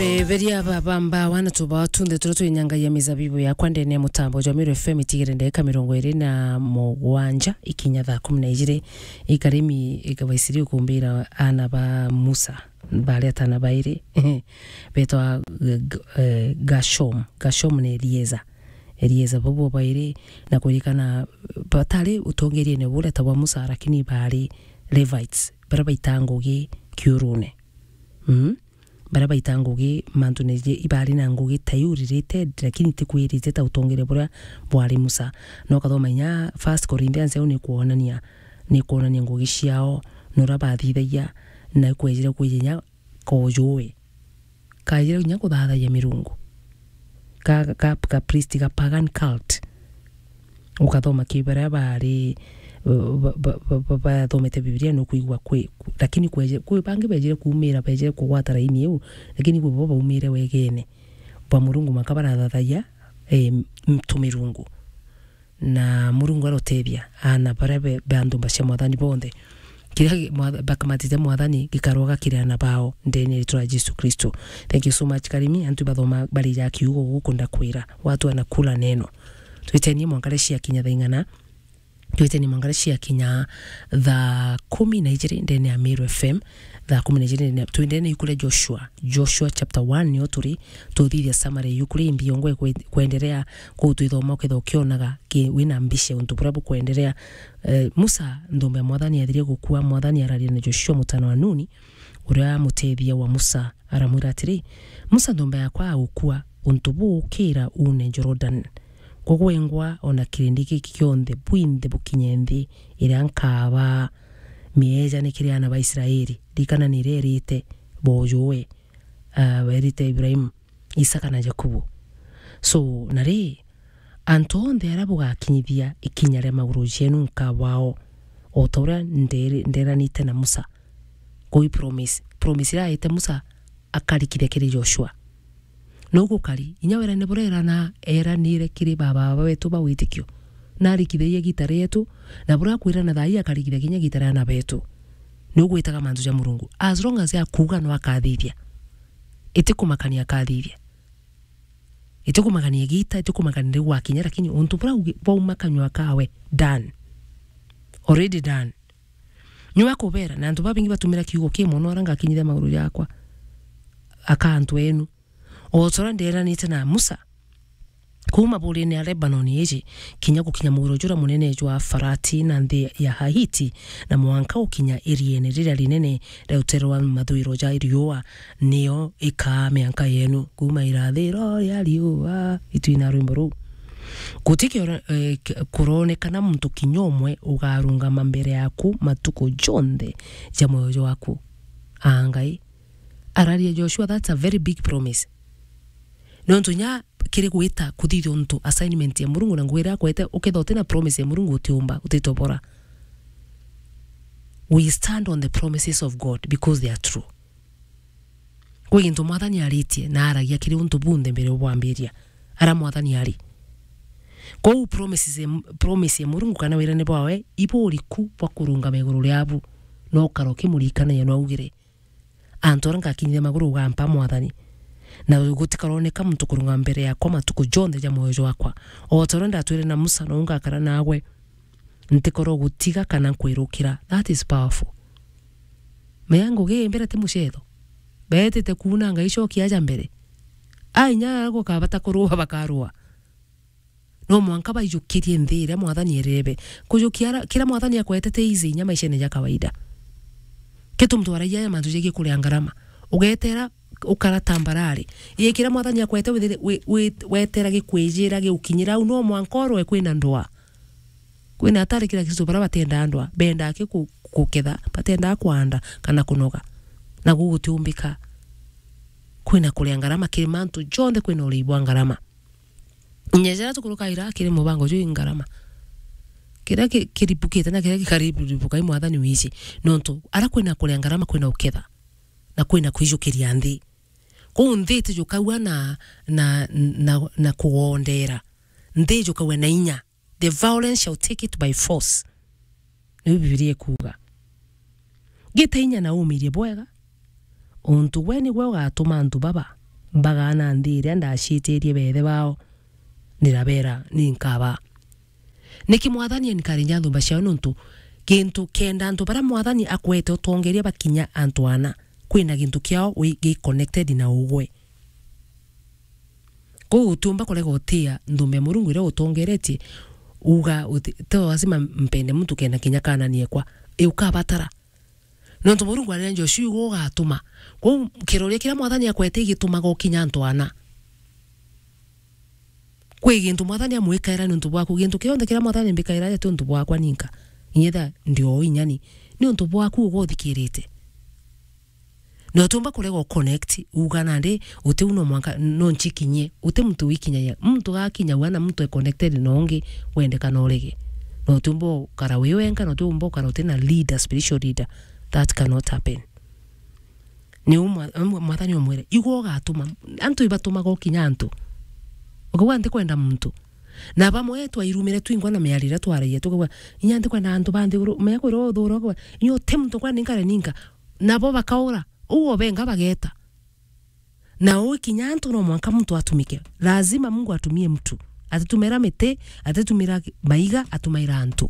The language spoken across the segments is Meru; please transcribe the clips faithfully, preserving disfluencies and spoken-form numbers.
E, beria baba mbawa na tubao tunthe turia twinyangagia mizabibu yakwa ndene ya mutambo jwa Meru F M itigire ndagika mirongo iri na mugwanja ikinya thaa kumi na ijiri. Ikarimi ikabaisiri ukumbira ana ba Musa, bari atana bairi, betwa G-, G-, eh, Gashom. Gashom na Elieza. Elieza bobo bairi, na kuririkana batari utongeriene buria ta bwa Musa, lakini bari Levites, baria baita ngugi kiurune. Mm? Baria baita ngugi mantune je, ibari na ngugi ta iu related, lakini itikwirite ta utongeria buria bwari Musa. No ukathoma inya First Corinthians, au ni kwonania, ni kwonania ngugi ciao, na uria bathithagia, na ikwejire kwija inya kojuwe. Kajire inya kuthathagia mirungu. Ka, ka, ka priest, ga pagan cult. Ukathoma ki baria bari, ba, ba, ba, ba, bathomete Biblia, nukwigua kwi, lakini kweje-, kwi bangi bejire kuumira, bejire kugwata raini iu, lakini kwi bo baumire wegene bwa Murungu, maka barathathagia, eh, tumirungu. Na Murungu arotethia ana baria be, be antu mba cia Mwathani bonthe. Kiria gi-, Mwatha-, bakamatite Mwathani gikaroga kiri ana bao ndene ya ritwa ria Jesu Kristo. Thank you so much, Karimi. Antu bathoma bari ja kiugo guku ndakwira. Watu wanakula neno. Twitenie mwanka ria ciakinya thaa ing'ana? Twitenie mwanka ria ciakinya thaa kumi na ijiri ndene ya Meru F M. Thaa kumi na ijiri ndene, twendene yuku ria Joshua. Joshua chapter one nio turi, tuthithia summary yuku ria imbi yongwe kwe-, kwenderea kuu twithoma ukethira ukionaga ki-, wina mbica untu buria bukwenderea. Eh, Musa, nthumba ya Mwathani yathirie gukua, Mwathani araria na Joshua mutana wa Nuni, uria mutethia wa Musa, aramwira atiri, "Musa, nthumba yakwa agukua, untu buu ukira uune Jordan. Kugwengwa ona kirindi giki kionthe bwinthe bukinye nthi iria nkaba mieejane kiri ana ba Israeli. Ririkana niria erite bojuwe, ah, erite Ibrahimu, Isaka na Jakubu." So, na ri, antu onthe aria bugakinyithia ikinya ria maguru jeenu nkabao, o ta uria nderi-, nderanite na Musa. Kuu i promise. Promise iria aite Musa akarikithia kiri Joshua. No gukari, inya werane buria erana, eranire kiri baba, baba betu ba witikio. Na arikithagia giita rietu, na buria akwirana thaa ii akarikithia kinya giita ria ana betu. Ni ugwitaga mantu ja Murungu. As long as akuuga no akathithia. Itikumakania akathithia. Itikumakania giita, itikumakania riu gwakinya, lakini untu buria ugi-, bwauma kanyua kawe, done. Already done. Niwe akubera, na antu babingi batumira kiugo ki mono, ara ngakinyithia maguru jakwa, aka antu enu. O ta uria nderanite na Musa, kuuma burine ya Lebanon iji, kinya gukinya muguro juria munene jwa Farati na nthi ya Hahiti, na mwanka gukinya iriene riria rinene ria rutere rwa mathuiro ja riua, niyo ikaa mianka yenu. Kuuma irathiro ria riua, itwina rwimbo ruu. Guti kioro-, eh, k-, kuronekana muntu kinya umwe ugarungama mbere yaku matuku jonthe ja muoyo jwaku. Aa Ngai, araria Joshua, that's a very big promise. Nontu nya kiri gwita kuthithia untu assignment ya Murungu na ngugi iria akwete, ukethira utina promise ya Murungu utiumba, utitobora. We stand on the promises of God because they are true. Kwi gintu Mwathani aritie na aragia kiri untu bunthe mbere bwambiria. Ara Mwathani ari. Kwou promises ya, promise ya Murungu kana wirane bwawe, ibu uriku bwa kurungama iguru riabu, no ukara ukimurikanagia no augire, antu aria ngakinyithia maguru ugampa Mwathani, na gutikaroneka muntu kurungama mbere yakwa matuku jonthe ja muoyo jwakwa. O ta uria ndatwire na Musa, nou ngakara naagwe, ntikorwo gutiga kana nkwirukira. That is powerful. Mea ngugi mbere ti mucetho. Beetite kuuna Ngai cokia aja mbere. A inya gukabata kurua bakarua. No mwanka baijukirie nthi iria Mwathani erebe. Kujukia ara-, kiria Mwathani akwetete easy inya maishene ja kawaida. Kitu muntu aragia ya mantu jegie kuria ngarama. Ugetera ukara tambarare. Ii kiria Mwathani akwete withire-, wi-, wi-, wetera gikwijira giukinyira au, no mwanka orwe kwina ndwa. Kwina atari kira kitu bara batenda ndwa, benda ki ku-, kuketha, batenda kwanda kana kunoga. Na gugutiumbika. Kwina kuria ngarama kiri mantu jonthe, kwina urii bwa ngarama. Inya jaria tukurukaira kiri mubango juu i ngarama. Kiria ki-, kiribukite na kiria gikaribukite i Mwathani wici. Nontu ara kwina kuria ngarama kwina uketha. Na kwina kwijukiria nthi. Kuu nthi itijukaua na, na, na, na kugondera. Nthi ijukaua na inya. The violence shall take it by force. Niu Bibilia ikuuga. Gita inya na umirie bwega, untu gwe nigwe ugatuma antu baba mbagaana nthi iria ndaciitirie beethe bao, ndirabera, ni nkaba. Niki Mwathani encourage nthumba ciao? Nontu gintu kenda antu baria Mwathani akwete utongeria bakinya antu ana, kwina gintu kiao wi-, gi connected na ugwe. Kwou utiumba kurega utia nthumba ya Murungu iria utongeretie, uga uti-, ti lazima mpende muntu kenda kinya kaana niekwa. I ukabatara. Nontu Murungu arera Joshua, igwe ugatuma. Kwou kiroria kiria Mwathani akwete igitumaga ukinya antu ana. Kwi gintu Mwathani amwikaira niuntu bwaku. Gintu kionthe kiria Mwathani mbikaira ti untu bwakwa ninka. Inyetha ndi o inyani. Ni untu bwaku uga uthikirite. Na utiumba kurega u connect, uga nandi, uti u no mwanka, no nchikinyie. Uti muntu wikinyagia. Muntu gakinya wana muntu e connected na ungi, wende kana urege. Na utiumba ukara wi wenka, na utiumba ukara uti na leader, spiritual leader. That cannot happen. Ni u mwa-, mwa-, Mwathani umwire, igwe ugatuma. Antu ibatumaga ukinya antu. Ukauga, "Ntikwenda muntu." Na bamwe twairumire twingwa na miario iria twaragia, tukauga, "Inya ntikwenda antu ba nthiguru." Menya kwirwa uthura, ukauga, "Inya uti muntu kwenda ninkare ninka." Nabo bakaura. Uu obenga bageta. Na uu kinya antu no mwanka muntu atumike. Lazima Mungu atumie mtu. Atitumira miti, atitumira maiga, atumaira antu.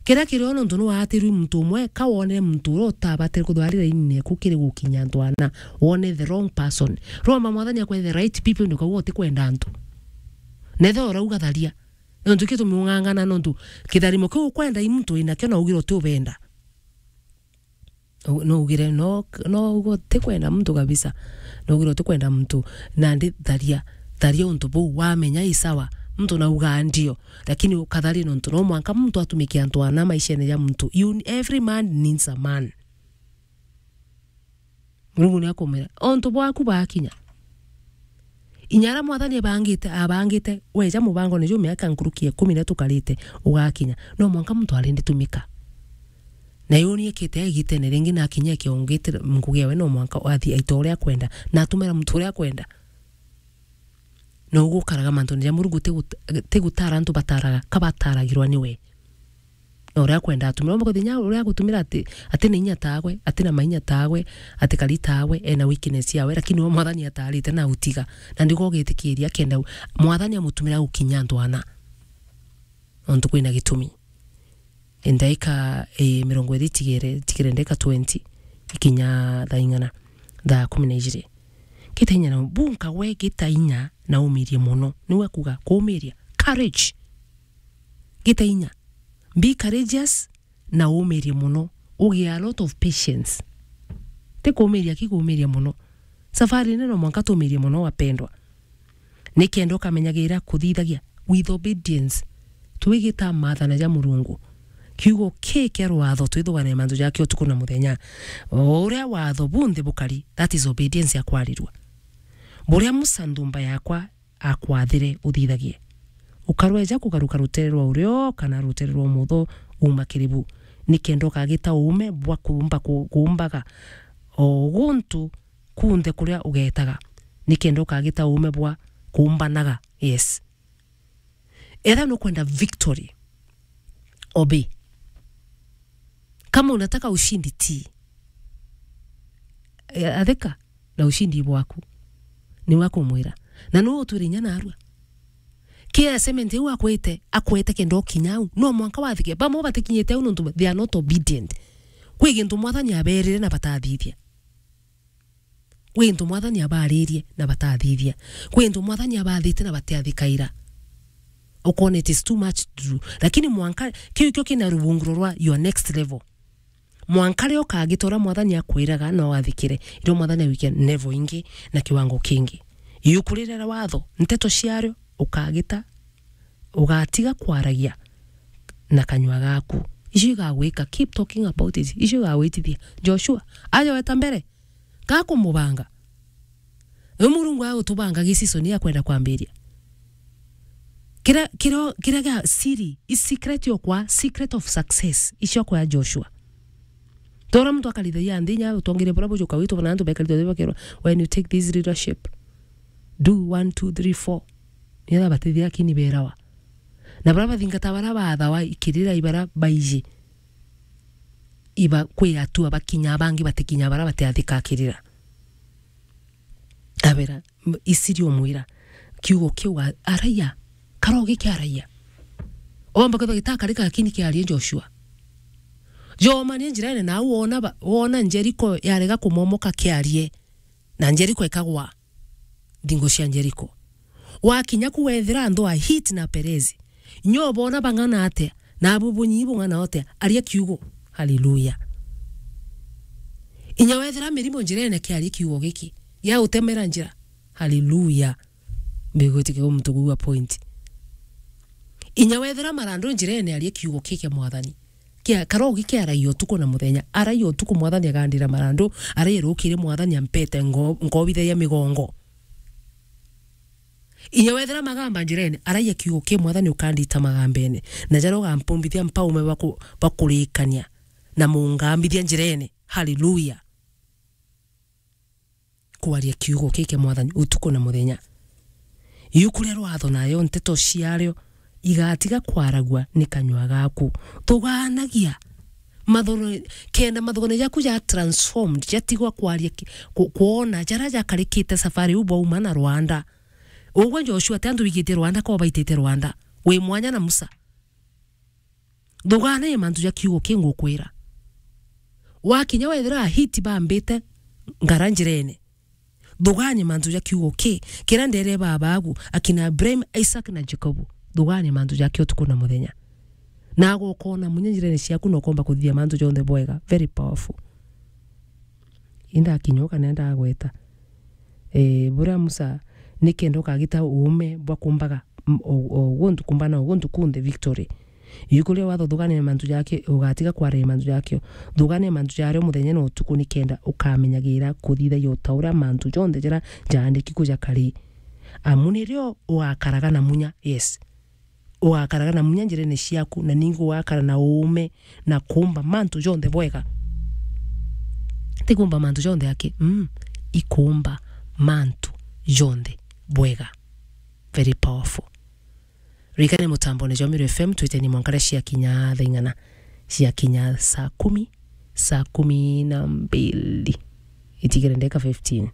Kiria kirio nontu ni waatirwi muntu umwe, ka wonere muntu uria utabatire kuthwarira ini neku kiri gukinya antu ana, wone the wrong person. Roma Mwathani akwe the right people, ndukauga utikwenda antu. Nethe urauga tharia. Nontu kitumiung'ang'ana, nontu kitharimo kiu ukwenda i muntu winakio na ugire utiubenda. U-, no ugire, no, no ugo tikwenda muntu kabisa. No ugire utikwenda muntu. Nandi tharia, tharia untu buu, wamenya i sawa. Muntu naugaa ndio, lakini ukatharia nontu no mwanka muntu atumike antu ana maishene ja muntu. You, every man needs a man. Murungu ni akumwira, "Ontu bwaku bakinya." Inya aria Mwathani abangite, abangite, weja mubangone juu miaka nkuruki ya ikumi iria tukarite, ugakinya. No mwanka muntu arindi tumika. Na yuni ekite agitene ringi na akinya akiongite ngugi yawe, no mwanka athi aita uria akwenda, na atumira muntu uria akwenda. Na ugukaraga mantune ja Murungu, ti gut-, ti gutara antu bataraga, ka bataragirwa niwe. Na uria akwenda atumira, umba kuthi inya uria agutumira ati, ati na inya tawe, ati na mainya tawe, ati kari tawe, ena weakness yawe, lakini we Mwathani atarite na utiga. Na ndiko gitikiria kenda u-, Mwathani amutumira gukinya antu ana. Nontu kwina gitumi. Ndaika, eh, mirongo iri itigere, itigere ndaika twenty, ikinya thaa ing'ana, thaa kumi na ijiri. Gita inya na, bu nkagwe gita inya na umirie mono. Niwe kuga kumiria. Courage. Gita inya. Be courageous na umirie mono. Ugie a lot of patience. Ti kumiria, ki kumiria mono. Safari nene no mwanka tumirie mono, wapendwa. Nikenda ukamenyagira kuthithagia with obedience. Twigita maathana ja Murungu. Kiugo ki kia rwatho twithugane mantu jake utuku na muthenya. O uria watho bunthe bukari, that is obedience ya kwarirua. Buria Musa nthumba yakwa akwathire uthithagie. Ukarweja kugaruka rutere rwa urio kana rutere rwa umotho uma kiri bu. Nikenda ukagita uume bwa kuumba ku-, kuumbaga o guntu kunthe kuria ugetaga, nikenda ukagita uume bwa kuumbanaga. Yes. Etha nukwenda victory, obey. Kama unataka ushindi, tii. E, athika na ushindi bwaku. Niwe akumwira. Na nu utwire inya narua. Ki assignment iu akwite, akwite kenda ukinya au. No mwanka wathike. Bamwe batikinyite au nontu they are not obedient. Kwi gintu Mwathani aberire na batathithia. Kwi into Mwathani abaaririe na batathithia. Kwi into Mwathani abathite na batiathikaira. Ukona it is too much to do. Lakini mwanka, kiu kio kina ruvunguro rwa your next level. Mwanka rio ukagita uria Mwathani akwiraga na wathikire, irio Mwathani agwikia level ingi na kiwango kingi. Iuku riria ria watho, nteto ciario ukagita, ugatiga kwaragia na kanyua gaku. Icio igagwika, keep talking about it. Icio igagwitithia. Joshua, aja weta mbere. Gakumubanga. Riu Murungu agutubanga gi season ya kwenda kwambiria. Kira, kira, kira gia siri, i secret yokwa, secret of success, icio kwa Joshua. Tora muntu akarithagia nthi nya utongeria bura bujuka witu bana antu bekarithwa bakirwa, "When you take this leadership, do one, two, three, four." Nigetha batithia akini berawa. Na bara bathingata bara bathawa ikirira ibara baiji. Iba kwi atua bakinya, bangi batikinya bara batiathika kirira. Wera, m-, Isiri omwira, kiugo kiu ga-, araia, karogi kia araia. Wamba kwithwa gitakari, lakini kiarie Joshua. Jomanie njirene, na au wona ba-, wona Jeriko yarega kumomoka, kiarie. Na Jeriko ikagwa. Nthingo cia Jeriko. Wakinya ku wethira andu a Hiti na Perezi. Nyo bona bang'ana atia, na abu bunyi bung'ana atia, aria kiugo. Haleluya. Inya wethira mirimo njirene, kiarie kiugo giki. Gia utemera njira. Haleluya. Mbigwitikia muntu kuigua point. Inya wethira marandu njirene, aria kiugo kiki Mwathani. Kia, karogi kiaragia utuku na muthenya. Araia utuku, Mwathani agandira marandu. Araia rukiri, Mwathani ampete ngo-, ngobithagia migongo. Inya wethira magamba njirene, araia kiugo ki, Mwathani ukandita magambene. Na jaria ugampumbithia mpaume baku-, bakurikania. Na mungambithia njirene. Haleluya. Kwaria kiugo kiki Mwathani utuku na muthenya. Iu kuria rwatho nayo nteto ciario igatiga kwaragua ni kanyua gaku. Thugaanagia. Mathono, kenda mathono jaku ja transformed, jatigwa kwaria ki-, ku-, kwona jaria jakarikite safari u bwauma na Rwanda. Ugwe Joshua, ti antu bigitie Rwanda, ko baitite Rwanda. Wi mwanya na Musa. Thugaania mantu ja kiugo ki ngukwira. Wakinya wethira Ahiti bambite ngara njirene. Thugaania mantu ja kiugo ki, kiria ndeere baba agu, akina Ibrahim, Isaac na Jacob. Thugaania mantu jake utuku na muthenya. Na agokoona munya njirene ciaku na ukomba kuthithia mantu jonthe bwega. Very powerful. Indakinya ukanenda agweta. Eh, buria Musa, nikenda ukagita uume bwa kumbaga, m-, o, o, guntu kumbana o guntu kunthe victory. Iu kuria watho thugaania mantu jake, ugatiga kwaria mantu jakio. Thugaania mantu jario muthenya na utuku nikenda ukamenyagira kuthithagia o ta uria mantu jonthe jaria jaandiki ku jakari. Amu nirio ugakaraga na munya, yes. Ugakaraga na munya njirene ciaku, na ningi ugakara na uume na kumba mantu jonthe bwega. Ti kumba mantu jonthe aki, mm, ikumba mantu jonthe bwega. Very powerful. Ririkane mutambone jwa Meru F M, twiteni mwanka riria ciakinya thaa ing'ana, ciakinya saa kumi, saa kumi na mbili. Itigere ndeka fifteen.